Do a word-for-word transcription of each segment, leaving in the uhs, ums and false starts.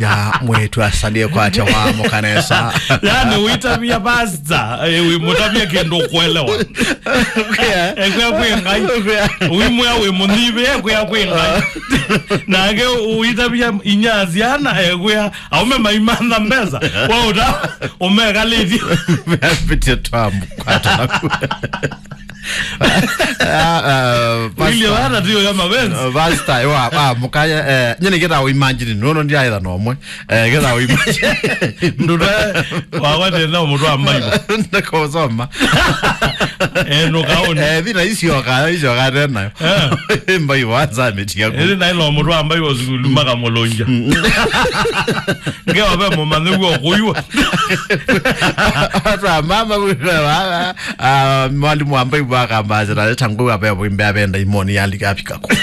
Ya mwĩĩtu asalie kwatya wa mũkanesa. Yani, ũitavya pastor, eh, wĩmũtavya kĩndũ ũkwelewa. Ũkwĩa. Ekwĩa kwĩ Ngai. Ũkwĩa. Wĩmwĩa wĩ mũnyivi, ekwĩa kwĩ Ngai. Nake ũitavya inya syana, ekwĩa, aume maimantha mbesa. Kwa ũta, ũmekalĩtye. Meapitie twamu kwata naku. Ah, ah, William, pastor. Hata tiyo ya mapenzi. Ah, pastor, wa, wa, mũkaya, eh, nyene kĩta imagine, no, no, ndiaetha no mwe. Eh, kĩta imagine. Nduta, wa, wa, tena mũndũ wa Mbaibo. Ndakosoma. Eh, no kaoni. Eh, thina icio ka, icio ka tena. Eh. Mbaibo, anza ametia ku. Ĩrĩ na ĩlo mũndũ wa Mbaibo sukulu, maka mũlũnja. Ngewa ve mũmanthe guo kũiwa. Watu wa mama, watu wa mama. Ah, mwalimu wa Mbaibo akamba, "Zira leta ngũa ve, vimbe avenda imoni yalika afika kũ.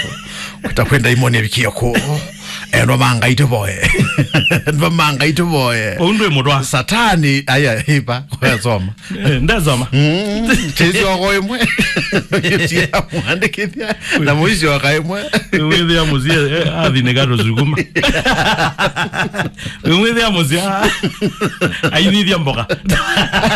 Kutakwenda imoni avikie kũ. Eno manga ituvoe." Eno manga ituvoe. Ũndũ mũtwa. Satani, aya, hipa, kwa soma. Eh, ndasoma. Mm, chezi oko imwe. Tia mwandĩkithia. Na mũici oka imwe. Wĩthĩa mũsie, eh, athi nĩ gato sukuma. Wĩthĩa mũsie, ah. Ainithia mboka.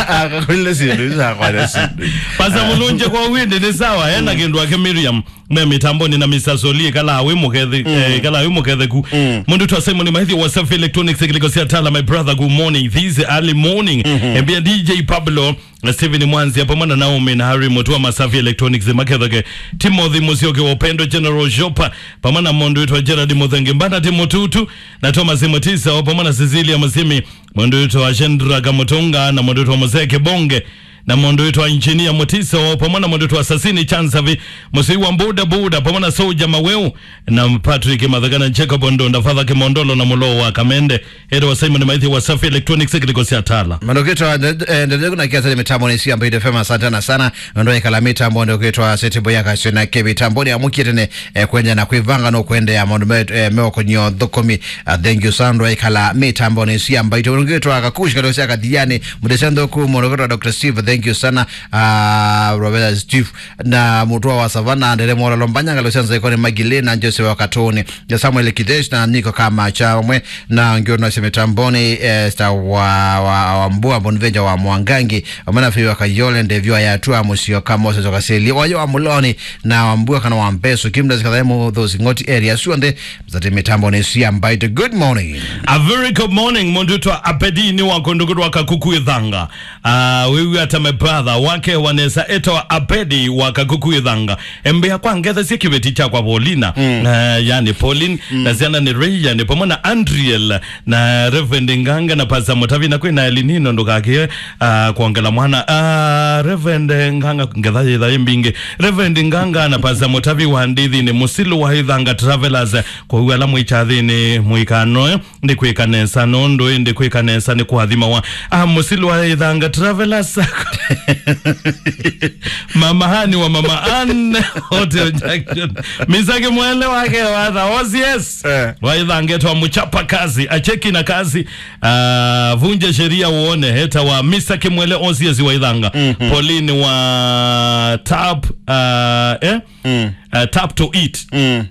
Akakwĩle sindu, isa kwa sindu. Pasa mũlũnje kwa wende nĩ sawa, ena kĩndũ ake Miriam. Me mitamboni na Mister Soli, kala wĩ mũkethe, eh, kala wĩ mũketheku. Mũndũ twa Simon Maithi wa Safi Electronics, kiliko sia tala, my brother, good morning. This early morning. Embia D J Pablo, na Steven Mwanzia, pamwe na Naomi na Harry Mutua, Masafi Electronics, maketheke. Timothy Musyoki wa Upendo General Shop, pamwe na mũndũ wĩtwa Gerard Muthengi, Mbana Timotutu, na Thomas Mutisa, o pamwe na Cecilia Musimi, mũndũ wĩtwa Shendra Kamutunga, na mũndũ wĩtwa Mose Kibonge, na mũndũ wĩtwa Engineer Mutiso, pamwe na mũndũ wĩtwa Sasini Chansavi, mũsei wa Buda Buda, pamwe na Soja Maweu, na Patrick Mathaka, na Jacob Ndonda, Father Kimondolo, na Mulo wa Kamende, Edo wa Simon Maithi wa Safi Electronics, kiliko sia tala. Mandokitwa, eh, ndele kuna kiasi ni mitambo ni sia Mbaitu F M, asante sana sana. Ndo ikala mitambo ndokitwa Seti Boya Kasio na Kevi tambo ni amukite ne, eh, kwenda na kuivanga no kwenda ya maundu me, eh, meo konyo thukumi. Ah, thank you sana, ndo ikala mitambo ni sia Mbaitu. Ndokitwa Kakushi kalo sia Kathiani, Mudesendo ku, ndokitwa Doctor Steve, thank you sana. Ah, Robert Steve, na Mutua wa Savana, Ndere Mora Lombanya, Ngalo Sanza Ikone Magile, na Jose wa Katoni, ya Samuel Kidesh, na Niko Kamacha, mwe, na Ngiono Semetamboni, eh, Star wa, wa, wa Mbua, Bonvenja wa Mwangangi, Omena Fiwa Kayole, Ndevyo ya Tua, Musio Kamo, Sezo Kaseli, Wayo wa Muloni, na wa Mbua kana wa Mbeso, Kimda Zikadhemu, those Ngoti area, Suonde, Zati mitambo ni sia Mbaitu. Good morning. A very good morning, mũndũ wĩtwa Abedi ni wa kũndũ kũtwa Kakuku Ithanga. Ah, wewe hata my brother wake wanesa etwa Abedi wa Kakuku Ithanga. Embea kwa ngetha sia kĩveti cha kwa Paulina. Mm. Ah, yani Pauline, mm, na ciana ni Ray, yani pamwe na Andriel, na Reverend Nganga na Pastor Mutavi na kwina Elinino ndũkakie, ah, kuongela mwana. Ah, Reverend Nganga ngetha yitha imbingi. Reverend Nganga na Pastor Mutavi wa ndithi ni Musilu wa Ithanga Travelers. Kwa hiyo ala mwĩ kyathĩnĩ mũikanoe, ndikwĩka nesa nũndũ ĩ ndikwĩka nesa nĩ kũathimawa. Ah, Musilu wa Ithanga Travelers. Mama Hani wa Mama Ann, Hotel Junction. Misaki mwele wake wa the O C S. Eh. Wa Ithanga etwa mchapa kazi, acheki na kazi. Ah, vunja sheria uone, heta wa Misaki mwele O C S wa Ithanga. Mhm. Pauline wa Tap, ah, eh? Mm. Ah, Tap to Eat. Mm.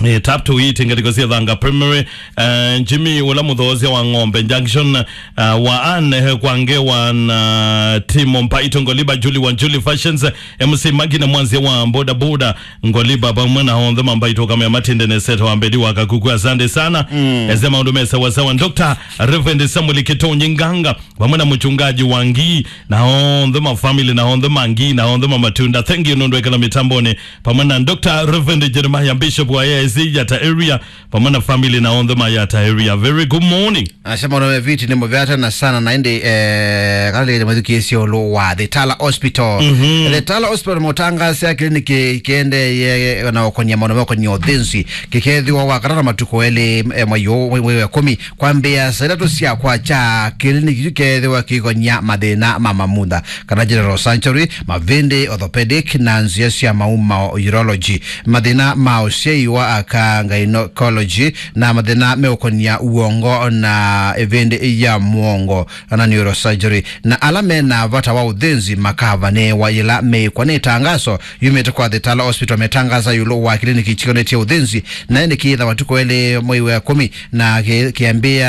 Eh, Tap to Eat, ngatiko sia Thanga Primary. Eh, Jimmy, ula mũthoosya wa Ng'ombe Junction, eh, wa Anne, eh, kwa Ngewa na Timo Mbaito, Ngoliba, Julie wa Julie Fashions, eh, M C Magi na Mwanzia wa Boda Boda, Ngoliba, pamwe na onthe mambaito kama ya Matinde ne Seto wa Mbedi wa Kakuku. Asante sana. Mm. Ese maundu me sawa sawa. Doctor Reverend Samuel Kitonyi Nganga, pamwe na mchungaji wa Ngii, na onthe ma family, na onthe ma Ngii, na onthe ma Matunda. Thank you, nũndũ ekala mitamboni. Pamwe na Doctor Reverend Jeremiah, Bishop wa A I C Yata Area, pamwe na family na onthe ma Yata Area. Very good morning. Anasema, "Ona viti ni mũvea tena sana na indi, eh, kana lile mwĩthukĩĩsye ũlũ wa The Tala Hospital." Mhm. The Tala Hospital mũtangaasya kĩliniki kĩendee na ũkonia maũndũ makonia ũthĩnzi. Kĩkethĩwa wakatano matukũ elĩ, eh, mwei ũũ, mwei wa ĩkũmi, kwambĩĩa saa itatũ sya kwakya. Kĩliniki kĩu kĩkethĩwa kĩikonia mathĩna ma mamutha, kana general surgery, mavĩndĩ, orthopedic, na nzĩa sya maumao, urology. Mathĩna ma ũsyai wa ka gynecology na mathĩna meũkonia ũongo na ĩvĩndĩ ya mũongo na neurosurgery, na ala mena vata wa ũthĩnzi makavanĩĩwa yĩla meĩkwa. Nĩ ĩtangaso yumĩte kwa The Tala Hospital, metangasa ĩũlũ wa kĩliniki kĩkonetye ũthĩnzi, na ĩndĩ kĩĩtha matukũ elĩ mwei wa ĩkũmi na kĩ- kĩambĩa